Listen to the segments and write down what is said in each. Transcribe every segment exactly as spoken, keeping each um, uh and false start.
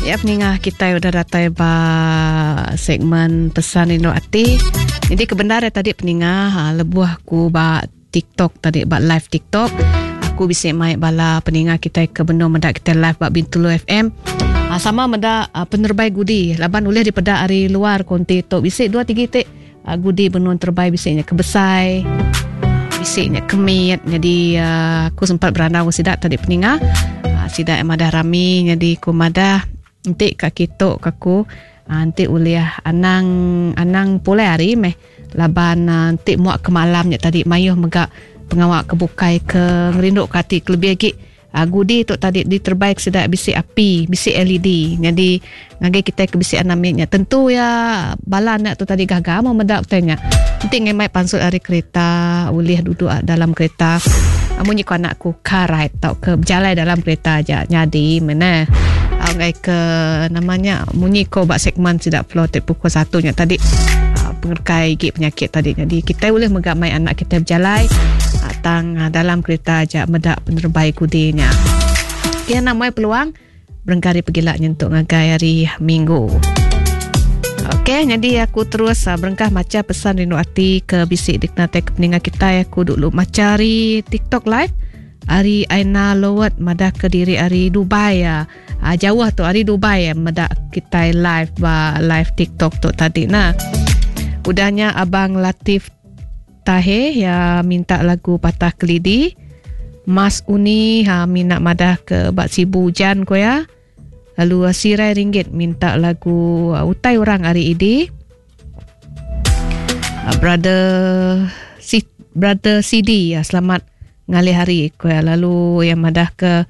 Ya, peningah kita udah datai ba segmen pesan rindu ati. Jadi kebenar ya tadi peningah ha, lebuh aku ba TikTok tadi, ba live TikTok. Aku bisa mai bala peningah kita ke benar mendak kita live ba Bintulu F M. Ha, sama mendak ha, penerbai gudi. Laban ulih daripada hari luar konti tu bisa dua tiga tik ha, gudi benun terbai bisanya kebesai. Bisiknya kemit. Jadi uh, aku sempat berandau sidak tadi peningah. Ha, sidak yang madah rami. Jadi aku madah nanti kak kitok kaku nanti uliah anang anang pulai hari meh laban nanti muak ke malamnya tadi mayuh megak pengawak kebukai ke ngerinduk kati kelebih lagi gudi tu tadi diterbaik sedak bisik api bisik L E D. Jadi ngagai kita ke bisik anamiknya tentu ya bala anak tu tadi gagal mau medak tanya nanti ngemai pansut hari kereta uliah duduk dalam kereta munyi ku anakku car ride tau ke berjalan dalam kereta aja nyadi mana ngai ke namanya munyi ko bak segmen sidak flow pukul satu nya tadi uh, pengerkai gig penyakit tadi. Jadi kita boleh megamai anak kita berjalan uh, tang uh, dalam kereta aja medak penerbai kudinya. Kia namai peluang berengkari pergilak nyentuk ngagai hari Minggu. Okey, jadi aku terus uh, berengkah maca pesan rindu ati ke bisik diknate ke peningat kita. Aku dulu maca hari TikTok live. Hari Aina Lowat madah ke diri hari Dubai ya. Ah, jauh tu hari Dubai ya medak kita live ba live TikTok tu tadi nah. Udahnya Abang Latif Tahir ya minta lagu Patah Kelidi. Mas Uni ha minat madah ke bak Sibu hujan ko ya. Lalu Sirai Ringgit minta lagu uh, Utai Orang hari ini. Uh, brother si Brother C D ya selamat ngalih hari ko ya. Lalu yang madah ke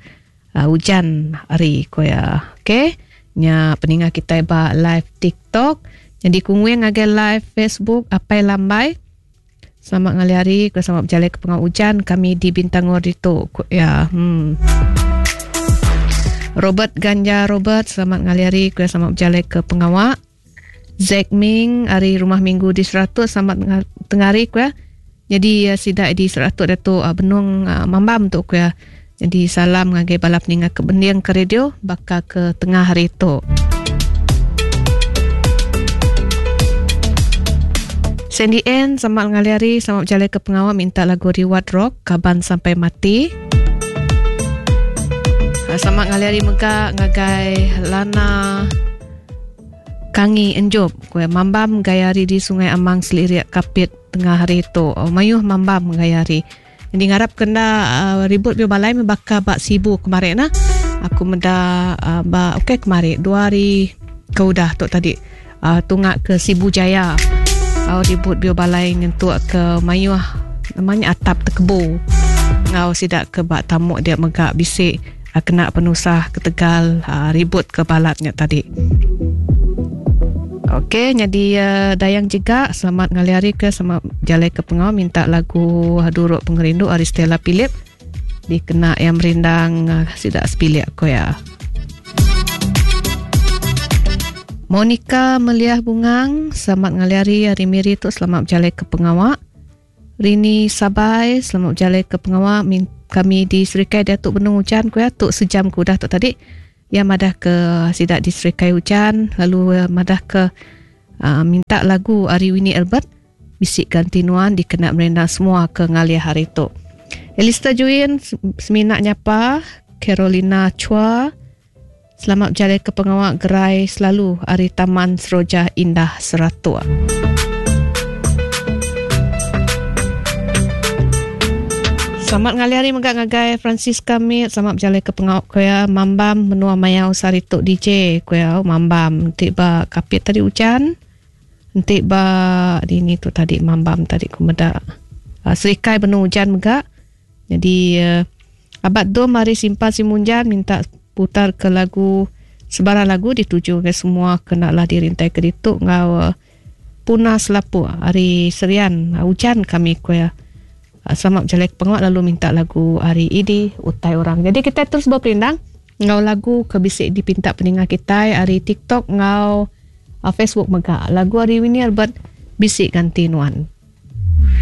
uh, hujan hari ko ya. Okey, nya peningah kita ba live TikTok. Jadi kungwing ngagai live Facebook Apai Lambai. Selamat ngalih hari, ko selamat berjalan ke pengau hujan kami di Bintangor itu ya. Hmm. Robert Ganja Robert selamat ngalih hari, ko selamat berjalan ke pengawak. Zack Ming hari rumah minggu di seratus selamat tengah hari ko ya. Jadi uh, sidak di seratus datuk uh, benung uh, mambam tu ko ya. Jadi salam ngagai bala peningat ke bending ke radio bakal ke tengah hari tu. Sandy N selamat ngalih hari, selamat berjalan ke pengawal minta lagu Reward Rock Kaban Sampai Mati. Selamat ngalih hari mega ngagai Lana Kangi Enjob ko mambam gaya hari di Sungai Amang Seliriak Kapit tengah hari tu. Oh, mayuh mambam gaya hari. Jadi ngarap kena uh, ribut bio balai membakar bak Sibu kemarin nah. Aku meda uh, ba okey kemarin dua hari ke udah tu tadi uh, tungak ke Sibu Jaya. Uh, ribut bio balai nyentuk ke mayuh namanya atap terkebu. Ngau sidak ke bak tamuk dia megak bisik uh, kena penusah ke Tegal uh, ribut ke balatnya tadi. Okey, jadi uh, Dayang juga selamat ngalih hari ke selamat jalan ke pengau minta lagu Duruk Pengerindu ari Stella Philip dikena yang merindang uh, sidak sepilik ko ya. Monica Meliah Bungang selamat ngalih hari hari Miri tu selamat berjalan ke pengawak. Rini Sabai selamat berjalan ke pengawak kami di Serikai Datuk Benung hujan ko ya tuk sejam ku dah tu tadi. Yang madah ke sidak di Serikai hujan lalu madah ke uh, minta lagu Ari Winnie Albert bisik gantinuan dikena merendang semua ke ngalih hari tu. Elista Juin seminak nyapa Carolina Chua selamat berjalan ke pengawak gerai selalu Ari Taman Seroja Indah Seratua. Selamat ngalih hari megak ngagai Francisca Mit. Selamat berjalan ke pengawak koya Mambam menua mayau sari tok D J koya Mambam entik ba kapit tadi hujan. Entik ba ini tu tadi Mambam tadi ku meda. Uh, Serikai benu hujan megak. Jadi uh, Abad Dom mari simpan simunjan minta putar ke lagu sebarang lagu dituju ke semua kenalah dirintai ke ditu ngau uh, Puna Selapu hari Serian uh, hujan kami koya. Selamat berjalan ke pengawak lalu minta lagu hari ini Utai Orang. Jadi kita terus berperindang ngau lagu ke bisik dipinta pendengar kita hari TikTok ngau uh, Facebook mega. Lagu hari ini Albert bisik ganti nuan.